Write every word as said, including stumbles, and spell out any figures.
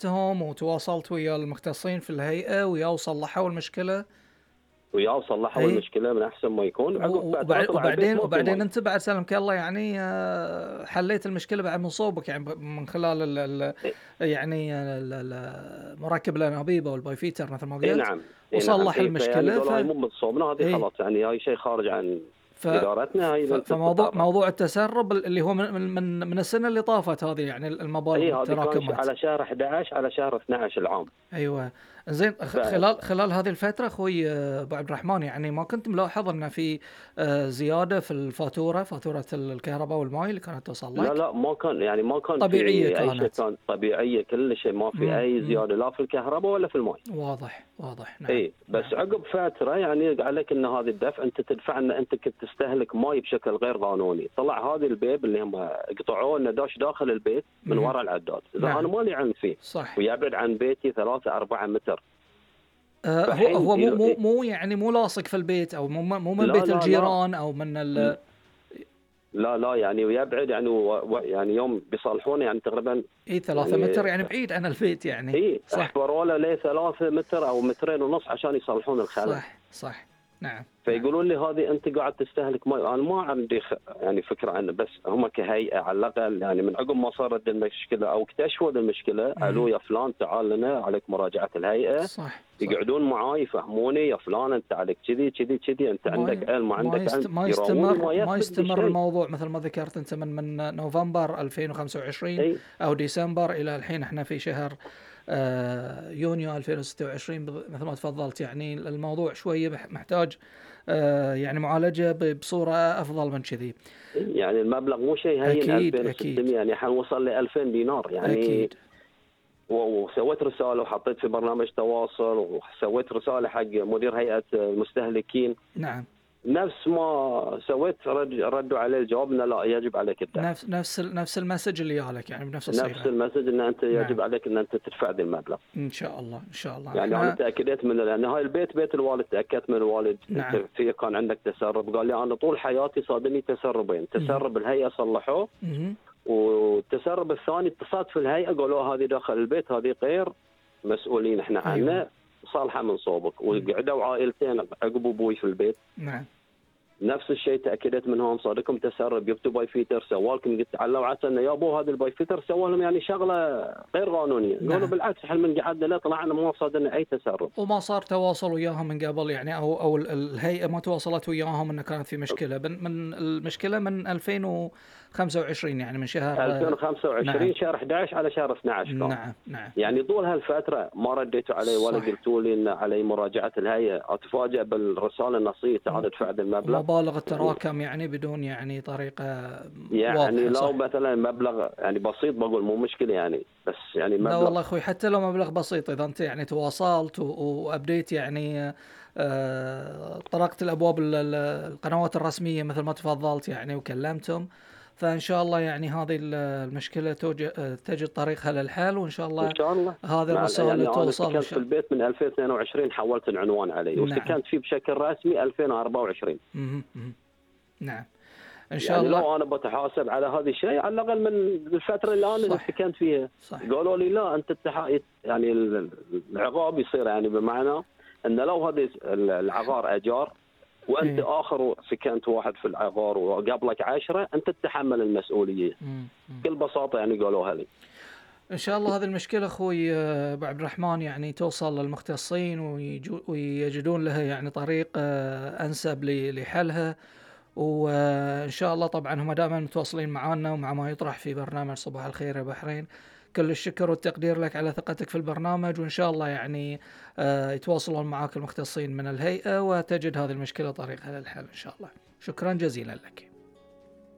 كلمتهم وتواصلت ويا المختصين في الهيئة ويا وصلحوا المشكلة؟ وياه صلحوا اي المشكلة من أحسن ما يكون. عقب و- فترة وبع- طلع البيت وبعدين ما في وبعدين مي. انت بعد سلمك الله يعني آه، حليت المشكلة بعد من صوبك يعني ب- من خلال ال ال إيه يعني ال- ال- مراكب الانابيب او الباي فيتر مثل ما إيه قلت، نعم، إيه نعم، وصلح إيه فيعني المشكلة. ف قالوا هاي مو من صوبنا، هذه اي خلاص يعني هاي شيء خارج عن ف قدرتنا، هاي ف- أنت فموضوع تتصرف. موضوع التسرب اللي هو من من من السنة اللي طافت هذه، يعني اي المبالغ هذه كان ش- التراكمات. على شهر أحد عشر على شهر اثنا عشر العام. ايوه. زين، ف خ- خلال خلال هذه الفتره اخوي آه، ابو عبد الرحمن، يعني ما كنت ملاحظ ان في آه، زياده في الفاتوره، فاتوره الكهرباء والماء اللي كانت توصل لا لك؟ لا ما كان يعني ما كان في طبيعيه اي شيء، كانت. كان طبيعيه كل شيء، ما في امم اي امم زياده لا في الكهرباء ولا في الماء. واضح واضح. نعم اي بس نعم. عقب فتره يعني قال لك ان هذه الدفع انت تدفع، ان انت كنت تستهلك ماي بشكل غير قانوني. طلع هذه البيب اللي هم قطعوه انه داش داخل البيت من مهم. وراء العداد، اذا انا نعم مالي علم فيه صح. ويبعد عن بيتي ثلاثة أربعة متر. آه، هو فحين هو مو يلو... مو مو يعني مو لاصق في البيت، او مو مو من لا بيت لا لا الجيران او من ال... لا لا يعني ويبعد يعني و... و- يعني يوم بيصلحونه يعني تقريبا اي ثلاثة يعني متر يعني بعيد عن البيت يعني. اي صح احفروا له ليه ثلاثة متر او مترين ونص عشان يصلحون الخلل. صح صح. نعم نعم. فيقولون لي هذه انت قاعد تستهلك ماء. انا ما عندي خ... يعني فكره عنه، بس هم كهيئه على الاقل يعني من عقب ما صارت المشكله او اكتشفوا المشكله قالوا مهم. يا فلان تعال لنا، عليك مراجعه الهيئه. صح صح. يقعدون معاي يفهموني، يا فلان انت عليك كذي كذي كذي، انت ما عندك ي... علم ما ما عندك يست... علم، ما يراوني يستمر ما ما يثبت يستمر بشيء. الموضوع مثل ما ذكرت انت من من نوفمبر ألفين وخمسة وعشرين اي او ديسمبر الى الحين احنا في شهر آه، يونيو ألفين وستة وعشرين بض- مثل ما تفضلت. يعني الموضوع شويه بح- محتاج آه، يعني معالجه ب- بصوره افضل من كذي. يعني المبلغ مو شيء هين، اكيد اكيد ألفين وستمية يعني حنوصل ل ألفين دينار يعني. اكيد. و- وسويت رساله وحطيت في برنامج تواصل، وسويت رساله حق مدير هيئه المستهلكين. نعم. نفس ما سويت رد ردوا عليه الجواب انه لا يجب عليك الدفع. نفس نفس ال- نفس المسج اللي جالك يعني بنفس نفس الصيغه. المسج ان انت نعم يجب عليك ان انت تدفع ذا المبلغ. ان شاء الله ان شاء الله يعني انا احنا. تاكدت من، لان هاي البيت بيت الوالد، تاكدت من الوالد نعم. انت في كان عندك تسرب. قال لي انا طول حياتي صادني تسربين، مهم. تسرب الهيئه صلحوه، مهم. والتسرب الثاني اتصلت في الهيئه قالوا هذه داخل البيت، هذه غير مسؤولين احنا ايوه. عنها، صالحه من صوبك. وقعدوا عائلتين عقب ابوي في البيت نعم نفس الشيء، تاكدت منهم صادكم تسرب، جبتوا باي فيتر سوالكم. قلت علوا عسى انه يا ابو هذا الباي فيتر سوى لهم يعني شغله غير قانونيه. نعم. قالوا بالعكس احنا من قعدنا لا طلعنا ما صادنا اي تسرب. وما صار تواصل وياهم من قبل يعني، او او ال- الهيئه ما تواصلت وياهم انه كانت في مشكله من من المشكله من ألفين وخمسة وعشرين يعني من شهر ألفين وخمسة وعشرين نعم شهر أحد عشر على شهر اثنا عشر كان. نعم نعم. يعني طول هالفتره ما رديتوا علي ولا صح. قلتوا لي ان علي مراجعه الهيئه. اتفاجئ بالرساله النصيه تعال ادفع هذا المبلغ. ومبالغ التراكم يعني بدون يعني طريقه يعني واضحه. لو صح. مثلا مبلغ يعني بسيط بقول مو مشكله يعني، بس يعني لا مبلغ. والله اخوي، حتى لو مبلغ بسيط اذا انت يعني تواصلت و- وابديت يعني آه، طرقت الابواب ال- ال- القنوات الرسميه مثل ما تفضلت يعني وكلمتهم، فان شاء الله يعني هذه ال- المشكله توج- آه، تجد طريقها للحل، وان شاء ان الله شاء الله. هذه مع الرساله يعني انا توصل ان سكنت في شاء البيت من ألفين واثنين وعشرين، حولت العنوان عليه الله. نعم. وسكنت فيه بشكل رسمي ألفين وأربعة وعشرين. مهم. مهم. نعم ان شاء يعني الله. لو انا بتحاسب على هذا الشيء على الاقل من الفتره اللي انا صح سكنت فيها. صح. قالوا لي لا انت التح... يعني العقاب يصير يعني بمعنى ان لو هذا العقار اجار وانت إيه. اخر سكنت واحد في العقار وقبلك عشرة، انت تتحمل المسؤوليه. مم. مم. بكل بساطه يعني قالوها لي. ان شاء الله هذه المشكله اخوي آه، ابو عبد الرحمن يعني توصل للمختصين ويجو- ويجدون لها يعني طريق آه، انسب ل- لحلها. وان شاء الله طبعا هم دائما متواصلين معنا ومع ما يطرح في برنامج صباح الخير يا بحرين. كل الشكر والتقدير لك على ثقتك في البرنامج، وان شاء الله يعني آه، يتواصلون معك المختصين من الهيئة وتجد هذه المشكلة طريقها للحل ان شاء الله. شكرا جزيلا لك.